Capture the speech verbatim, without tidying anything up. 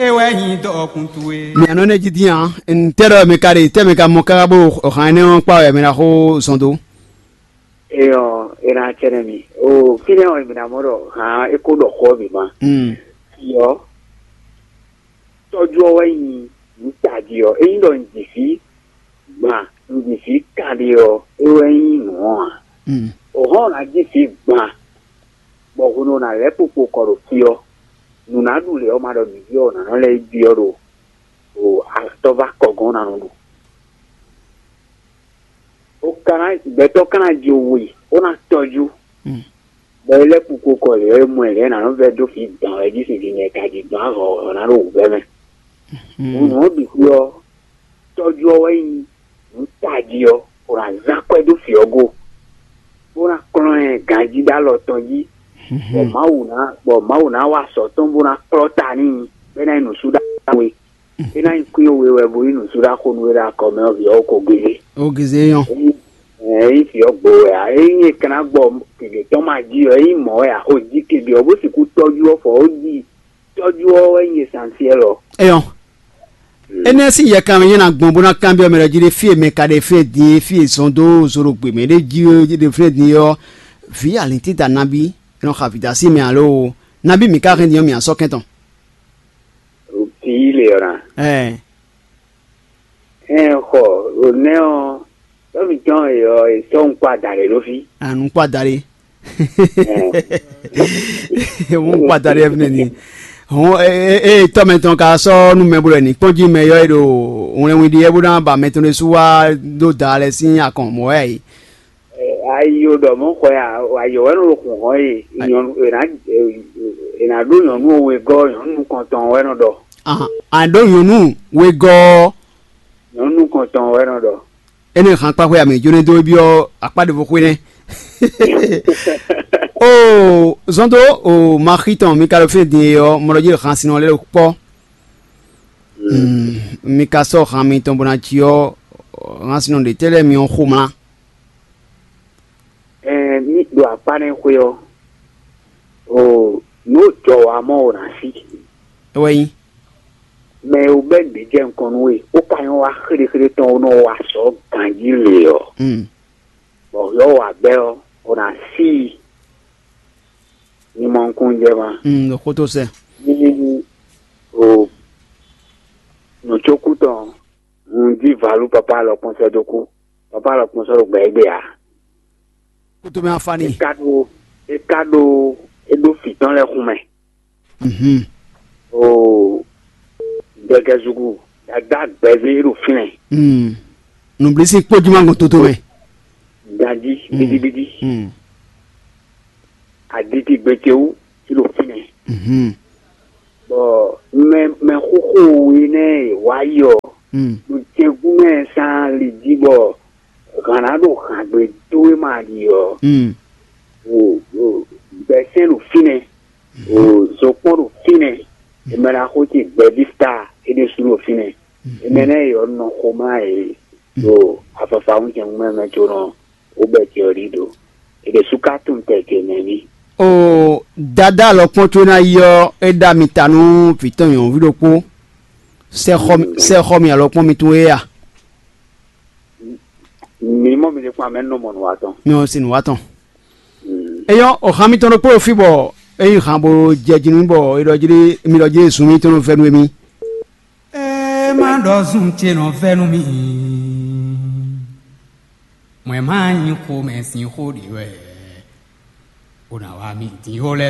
É wɛ nyí dɔkun towe. Mɛ nɔ ne jí dín ǎ, ntɛ́ ɖɔ mɛ ka ɖe, tɛ́ mɛ ka mɔ káká bó hǎn énɛ́ ɔ́ kpá wɛ mɛ ná xó zɔn dó. Eyɔ, ena tsɛnɛ mi. O, fínɛ́ ɔ́, mi ná mɔ ɖɔ hǎn é kó ɖɔ xó ɔ́ bǐ ma. Mm. Yɔ, tɔ́jú ɔ́ wɛ nyí nǔ tají ɔ́. Ényí ɖɔ un ji fí gban, un ji fí kanɖé ɔ́, é wɛ nyí nǔ ɔ́ ǎ. Mm. O hɔn ná ji fí gban, bɔ hwenu ɔ́ ná lɛ́ kpokpo kɔ ɖo fí ɔ́, nǔ ná ɖu lě ɔ́ ma ɖɔ nǔví ɔ́ ná nɔ lɛ́ yi byɔ́ ɖo o atɔ́ va kɔ gɔ́n ná nɔ ɖu. O ka ná gbɛtɔ́ ka ná ji we, ó ná tɔjú. Mm. Bɔ é lɛ́ kpukpo kɔ lě ɔ́, é mɔ ɛ lě ɔ́, ná nɔ vɛ́ dó fí dǎn wɛ jí sin din lɛ ka jí dɔn ahɔ̌ ɔ́ ná ɖo wǔvɛ́ mɛ. Nǔ ɔ́ bǐ xwé ɔ́, tɔ́jú ɔ́ wɛ nyí nǔ tají ɔ́, bó ná zán akwɛ́ dó fǐ ɔ́ go, bó ná kplɔ́n ɛ ganjí ɖó alɔ tɔn jí, bɔ Mawu ná bɔ Mawu ná wa azɔ̌ tɔn bó ná kplɔ́ ta n'i, bɔ é ná nyí nǔsúɖaxó we. É ná nyí kwín we wɛ bó nyí nǔsúɖaxó nú we ɖo akɔ mɛ ɔ́, vǐ ɔ́ ko gégé. Ó gizé nyɔ́. Ényí vǐ ɔ́ gbo wɛ ǎ, ényí è ka ná gbɔ gěgé tɔn ma jí ɔ́, ényí mɔ̌ wɛ ǎ, xo jí kebí ɔ́ bó sixú tɔ́jú ɔ́ fɔ ó jí. Tɔ́jú ɔ́ wɛ nyí esansiɛ́l ɔ́. Eyɔn. Énɛ́ sín yɛkan mɛ nyɛ ná gbɔn bó ná kanbyɔ́ mɛ ɖɔ jí ɖé fí e mɛ ka ɖe fí e din e fí e zɔn dó zo ɖo gbě mɛ ɖé jí é ɖe fí e din é ɔ́, vǐ alǐntída nabí é nɔ xa vǐdá sí mɛ alo nabí mǐ ka hɛn din ɔ́ mǐ asɔ́ kɛn tɔn. Vǐ le ɔ́ ná. Ɛɛ. Ɛn xɔ, ɖo nɛ́ ɔ́, tɔ́ mǐtɔn e ɔ́, è sɔ́ nukpó adaɖé ɖó fí. Anukpó adaɖé. Wọ́n kpata ɖe fínɛ́ ni. Hɔn eye tɔ́ mɛtɔn ka sɔ́ nú mɛ bó lɛ ní kpɔ́n jí mɛ yɔ é ɖo wlɛnwin ɖi é bó ná ba mɛtɔn ɖésú wá dó da lɛ sín akɔn mɔ̌ wɛ yě. Ayi o ɖɔ mɔ̌ xɔ ya, ayɔ wɛ nɔ ɖo xun hɔn ye, nyɔnu è nǎ è nǎ ɖó nyɔnu wegɔ́, nyɔnu nukɔntɔn wɛ nɔ ɖɔ. Ahan, a ɖó nyɔnu wegɔ́. Nyɔnu nukɔntɔn wɛ nɔ ɖɔ. Énɛ́ han kpáxwé amɛ jónɛ́ dó byɔ́ akpá ɖěvo xwé nɛ́. Oo, zɔn dó o maxí tɔn mi ka ɖo fínɛ́ din e ɔ́, mɔ ɖɔ jí han sin ɔ́ lɛ́ ɖo kpɔ́. Mi ka sɔ́ han mitɔn bó ná cí ɔ́, han sin ɔ́ ɖě tɛ́ lɛ́ɛ mi ɔ́ xomlá. Ɛɛ, ní ɖo akpá nɛ́ xwé ɔ́, o nǔ jɔ wǎ mɔ o nǎ sí. É wɛ nyí. Mɛ e wú bɛ́ nǔɖé jɛ nukɔn nú we, bó ka nyɔ́ wá xéɖéxéɖé tɔn, bó nɔ wa sɔ̌ ganjí lě ɔ́, Mm. bɔ yɔ̌ wa gbɛ́ ɔ́, o nǎ sí i. Ní mɔ nukúnnú jɛ ma. Mm, ɖo xótó sɛ. Ní o nǔcókú tɔn, un jí valú papá alɔkpɔ́n sɛ́ dó kú. Papá alɔkpɔ́n sɔ́ ɖo gbɛ égbé ǎ. Kútó mɛ afá ni. É ka ɖó é ka ɖó é ɖó fǐ tɔn lɛ́ɛ xun mɛ. Mhm. Oo, gbɛgɛzugu dada gbɛzé ɖo fínɛ. Mm. Nǔblísí kpó jí má gbɔn toto mɛ. Ganjí Mm. Bídíbídí. Mm. Aditi gbɛtɛwú tí ɖo fínɛ. Mhm. Bɔ mɛ mɛ xóxó we nɛ wá yi ɔ, Mm. ɖo jɛgún mɛ sán li jí bɔ hǎn ná ɖo hǎngbe dó wé ma ɖi ɔ. Mm. O o gbɛsɛn ɖo fínɛ, o zokpɔn ɖo fínɛ, emɛ ná xó ce gbɛvista é ɖésú ɖo fínɛ. Emɛ nɛ yɔ nɔ xomá e ɖo afafa ŋutɛn mɛ mɛ có nɔ ó bɛ ce ɔ́ ɖi ɖo. È ɖe súká tunwun tɛ ce mɛ ní. O dada alɔkpɔn có ná yi ɔ́, é ɖa mi ta nú vǐ tɔn nyɔ̌nuví ɖokpó. Sɛ xɔ mi alɔkpɔn mi tún é a? Mi mɔ mi ɖe kpɔ́n amɛ nɔ mɔ nǔ wa tɔn. Mi ɔ́ sin nǔ wa tɔn. Eyɔ́, o han mitɔn ɖokpó ɖo fí bɔ é nyí han bo jɛ jí nú bɔ é ɖɔ jí mi ɖɔ jí sun mitɔn nɔ vɛ́ nú émí. Ée má ɖɔ zun ce nɔ vɛ́ nú mì, mɔ̌ ɛ má nyí xomɛ sín xó ɖě wɛ, bó ná wá mì dín xó lɛ́ɛ